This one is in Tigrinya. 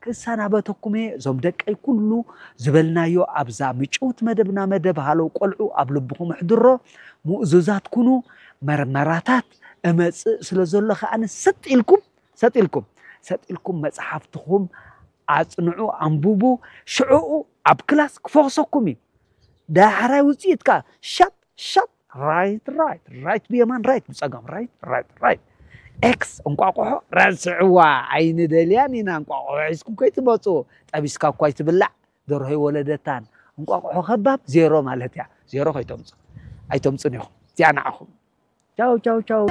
ክሰናበተኩም እየ። እዞም ደቀይ ኩሉ ዝበልናዮ ኣብዛ ምጭውት መደብና መደብ ሃለው ቆልዑ ኣብ ልብኹም ኣሕድሮ። ምእዙዛት ኩኑ። መርመራታት እመጽእ ስለ ዘሎ ከኣ ሰጥ ኢልኩም ሰጥ ኢልኩም ሰጥ ኢልኩም መጽሓፍትኹም ኣጽንዑ፣ ኣንብቡ። ሽዕኡ ኣብ ክላስ ክፈኽሰኩም እዩ። ዳሕራይ ውፅኢት ከዓ ሻፕ ሻፕ፣ ራይት ራይት ራይት፣ ብየማን ራይት፣ ብፀጋም ራይት ራይት ራይት። ኤክስ እንቋቑሖ ረስዕዋ፣ ኣይንደልያን ኢና። እንቋቑሖ ሒዝኩም ከይትመፁ። ጠቢስካ እኳ ኣይትብላዕ፣ ደርሆ ይወለደታን። እንቋቑሖ ከባብ ዜሮ ማለት እያ። ዜሮ ከይተምፁ ኣይተምፁን ኢኹም። እዚኣ ንዓኹም። ቻው ቻው ቻው።